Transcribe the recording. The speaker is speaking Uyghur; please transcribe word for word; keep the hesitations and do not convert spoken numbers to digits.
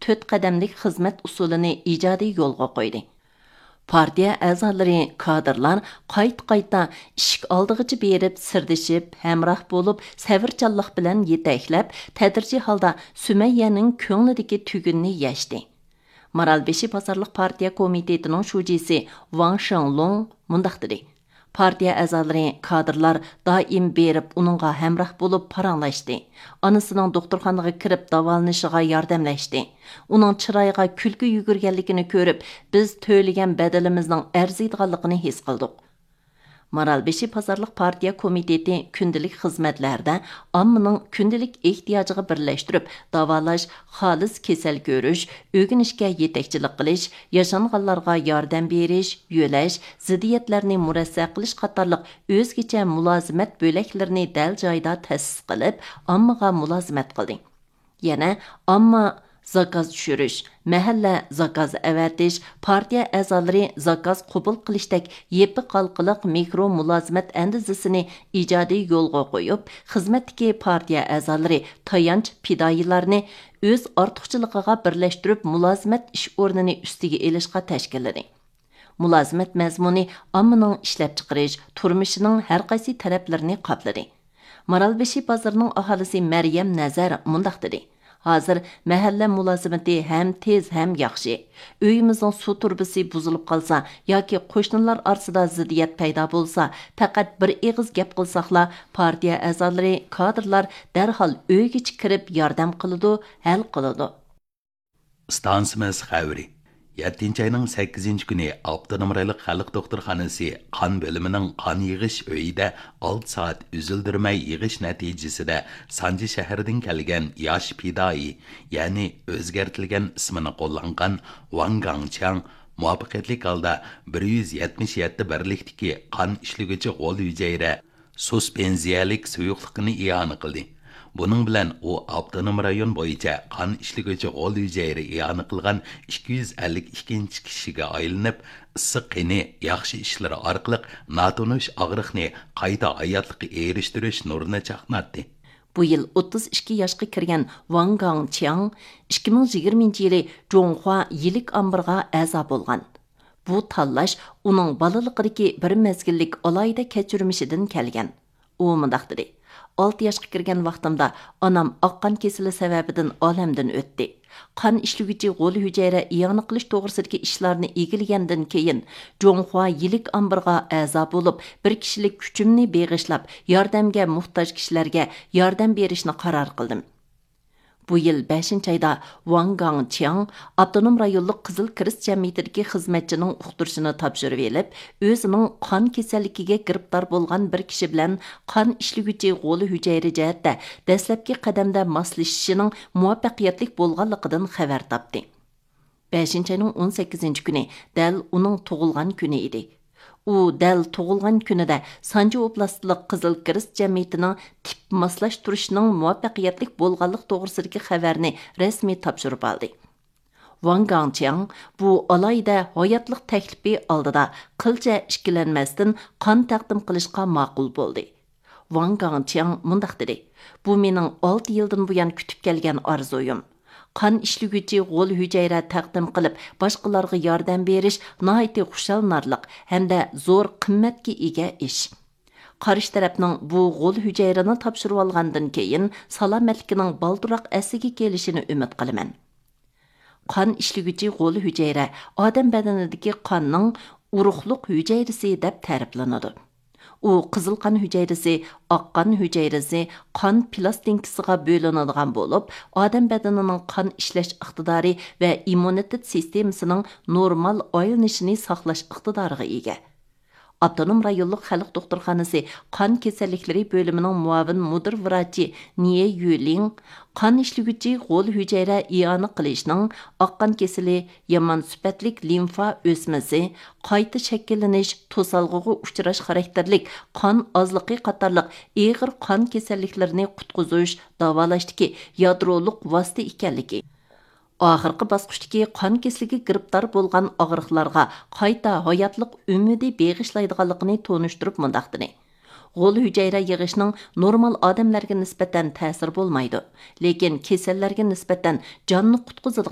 تۆت قەدەملىك خىزمەت ئۇسۇلىنى ئىجادىي يولغا قويدى. پارتىيە ئەزالىرى، كادىرلار قايتا-قايتا ئىشىك ئالدىغىچە بېرىپ سىردىشىپ، ھەمراھ بولۇپ، سەۋرچانلىق بىلەن يېتەكلەپ، تەدرىجىي ھالدا سۈمەييەنىڭ كۆڭلىدىكى تۈگۈننى يەشتى. مارالبېشى بازارلىق پارتىيە كومىتېتىنىڭ شۇجىسى ۋاڭ شېڭلۇڭ مۇنداق دېدى: پارتىيە ئەزالىرى، كادىرلار دائىم بېرىپ ئۇنىڭغا ھەمراھ بولۇپ پاراڭلاشتى. ئانىسىنىڭ دوختۇرخانىغا كىرىپ داۋالىنىشىغا ياردەملەشتى. ئۇنىڭ چىرايىغا كۈلكە يۈگۈرگەنلىكىنى كۆرۈپ، بىز تۆلىگەن بەدىلىمىزنىڭ ئەرزىيدىغانلىقىنى ھېس قىلدۇق. مارالبېشى بازارلىق پارتىيە كومىتېتى كۈندىلىك خىزمەتلەردە ئاممىنىڭ كۈندىلىك ئېھتىياجىغا بىرلەشتۈرۈپ داۋالاش، خالىس كېسەل كۆرۈش، ئۆگىنىشكە يېتەكچىلىك قىلىش، ياشانغانلارغا ياردەم بېرىش، يۆلەش، زىددىيەتلەرنى مۇرەسسە قىلىش قاتارلىق ئۆزگىچە مۇلازىمەت بۆلەكلىرىنى دەل جايىدا تەسىس قىلىپ، ئاممىغا مۇلازىمەت قىلدى. يەنە ئامما زاكاز چۈشۈرۈش، مەھەللە زاكاز ئەۋەتىش، پارتىيە ئەزالىرى زاكاز قوبۇل قىلىشتەك يېپىق ھالقىلىق مىكرو مۇلازىمەت ئەندىزىسىنى ئىجادىي يولغا قويۇپ، خىزمەتتىكى پارتىيە ئەزالىرى تايانچ پىدائىيلارنى ئۆز ئارتۇقچىلىقىغا بىرلەشتۈرۈپ، مۇلازىمەت ئىش ئورنىنى ئۈستىگە ئېلىشقا تەشكىللىدى. مۇلازىمەت مەزمۇنى ئاممىنىڭ ئىشلەپچىقىرىش، تۇرمۇشىنىڭ ھەرقايسى تەرەپلىرىنى قاپلىدى. مارالبېشى بازىرىنىڭ ئاھالىسى مەريەم نەزەر مۇنداق دېدى: ھازىر مەھەللە مۇلازىمىتى ھەم تېز، ھەم ياخشى. ئۆيىمىزنىڭ سۇ تۇرۇبىسى بۇزۇلۇپ قالسا ياكى قوشنىلار ئارىسىدا زىددىيەت پەيدا بولسا، پەقەت بىر ئېغىز گەپ قىلساقلا، پارتىيە ئەزالىرى، كادىرلار دەرھال ئۆيگىچە كىرىپ ياردەم قىلىدۇ، ھەل قىلىدۇ. ئىستانسىمىز خەۋىرى. يەتتىنچى ئاينىڭ سەككىزىنچى كۈنى ئاپتونوم رايونلۇق خەلق دوختۇرخانىسى قان بۆلۈمىنىڭ قان يىغىش ئۆيىدە ئالتە سائەت ئۈزۈلدۈرمەي يىغىش نەتىجىسىدە، سانجى شەھىرىدىن كەلگەن ياش پىدائىي، يەنى ئۆزگەرتىلگەن ئىسمىنى قوللانغان ۋاڭ گاڭچياڭ مۇۋەپپەقىيەتلىك ھالدا بىر يۈز يەتمىش يەتتە بىرلىكتىكى قان ئىشلىگۈچى غول ھۈجەيرە سۇسپېنزىيەلىك سۇيۇقلۇقىنى ئىئانە قىلدى. بۇنىڭ بىلەن ئۇ ئاپتونوم رايون بويىچە قان ئىشلىگۈچى غول ھۈجەيرە ئىئانە قىلغان ئىككى يۈز ئەللىك ئىككىنچى كىشىگە ئايلىنىپ، ئىسسىق قېنى ياخشى ئىشلىرى ئارقىلىق ناتونۇش ئاغرىقنى قايتا ھاياتلىققا ئېرىشتۈرۈش نۇرىنى چاقناتتى. بۇ يىل ئوتتۇز ئىككى ياشقا كىرگەن ۋاڭ گاڭچياڭ ئىككى مىڭ يىگىرمىنچى يىلى جۇڭخۇا يىلىك ئامبىرىغا ئەزا بولغان. بۇ تاللاش ئۇنىڭ بالىلىقىدىكى بىر مەزگىللىك ئالاھىدە كەچۈرمىشىدىن كەلگەن. ئۇ مۇنداق دېدى: ئالتە ياشقا كىرگەن ۋاقتىمدا ئانام ئاق قان كېسىلى سەۋەبىدىن ئالەمدىن ئۆتتى. قان ئىشلىگۈچى غول ھۈجەيرە ئىئانە قىلىش توغرىسىدىكى ئىشلارنى ئىگىلىگەندىن كېيىن، جۇڭخۇا يىلىك ئامبىرىغا ئەزا بولۇپ، بىر كىشىلىك كۈچۈمنى بېغىشلاپ، ياردەمگە موھتاج كىشىلەرگە ياردەم بېرىشنى قارار قىلدىم. بۇ يىل بەشىنچى ئايدا ۋاڭ گاڭچياڭ ئاپتونوم رايونلۇق قىزىل كىرېست جەمئىيىتىدىكى خىزمەتچىنىڭ ئۇقتۇرۇشىنى تاپشۇرۇۋېلىپ، ئۆزىنىڭ قان كېسەللىكىگە گىرىپتار بولغان بىر كىشى بىلەن قان ئىشلىگۈچى غول ھۈجەيرە جەھەتتە دەسلەپكى قەدەمدە ماسلىشىشىنىڭ مۇۋەپپەقىيەتلىك بولغانلىقىدىن خەۋەر تاپتى. بەشىنچى ئاينىڭ ئون سەككىزىنچى كۈنى دەل ئۇنىڭ تۇغۇلغان كۈنى ئىدى. ئۇ دەل تۇغۇلغان كۈنىدە سانجى ئوبلاستلىق قىزىل كىرېست جەمئىيىتىنىڭ تىپ ماسلاشتۇرۇشىنىڭ مۇۋەپپەقىيەتلىك بولغانلىق توغرىسىدىكى خەۋەرنى رەسمىي تاپشۇرۇپ ئالدى. ۋاڭ گاڭچياڭ بۇ ئالاھىدە ھاياتلىق تەكلىپى ئالدىدا قىلچە ئىككىلەنمەستىن قان تەقدىم قىلىشقا ماقۇل بولدى. ۋاڭ گاڭچياڭ مۇنداق دېدى: بۇ مېنىڭ ئالتە يىلدىن بۇيان كۈتۈپ كەلگەن ئارزۇيۇم. قان ئىشلىگۈچى غول ھۈجەيرە تەقدىم قىلىپ، باشقىلارغا ياردەم بېرىش ناھايىتى خۇشاللىنارلىق ھەمدە زور قىممەتكە ئىگە ئىش. قارشى تەرەپنىڭ بۇ غول ھۈجەيرىنى تاپشۇرۇۋالغاندىن كېيىن، سالامەتلىكىنىڭ بالدۇرراق ئەسلىگە كېلىشىنى ئۈمىد قىلىمەن. قان ئىشلىگۈچى غول ھۈجەيرە ئادەم بەدىنىدىكى قاننىڭ ئۇرۇقلۇق ھۈجەيرىسى دەپ تەرىپلىنىدۇ. ئۇ قىزىل قان ھۈجەيرىسى، ئاق قان ھۈجەيرىسى، قان پىلاستىنكىسىغا بۆلۈنىدىغان بولۇپ، ئادەم بەدىنىنىڭ قان ئىشلەش ئىقتىدارى ۋە ئىممۇنىتېت سىستېمىسىنىڭ نورمال ئايلىنىشىنى ساقلاش ئىقتىدارىغا ئىگە. ئاپتونوم رايونلۇق خەلق دوختۇرخانىسى قان كېسەللىكلىرى بۆلۈمىنىڭ مۇئاۋىن مۇدىر ۋراچى نىيې يۈلىڭ قان ئىشلىگۈچى غول ھۈجەيرە ئىئانە قىلىشنىڭ ئاق قان كېسىلى، يامان سۈپەتلىك لىمفا ئۆسمىسى، قايتا شەكىللىنىش، توسالغۇغا ئۇچراش خاراكتېرلىك قان ئازلىقى قاتارلىق ئېغىر قان كېسەللىكلىرىنى قۇتقۇزۇش، داۋالاشتىكى يادرولۇق ۋاسىتە ئىكەنلىكى، ئاخىرقى باسقۇچتىكى قان كېسىلىگە گىرىپتار بولغان ئاغرىقلارغا قايتا ھاياتلىق ئۈمىدى بېغىشلايدىغانلىقىنى تونۇشتۇرۇپ مۇنداق دېدى: غول ھۈجەيرە يىغىشنىڭ نورمال ئادەملەرگە نىسبەتەن تەسىرى بولمايدۇ، لېكىن كېسەللەرگە نىسبەتەن جاننى قۇتقۇزىدىغان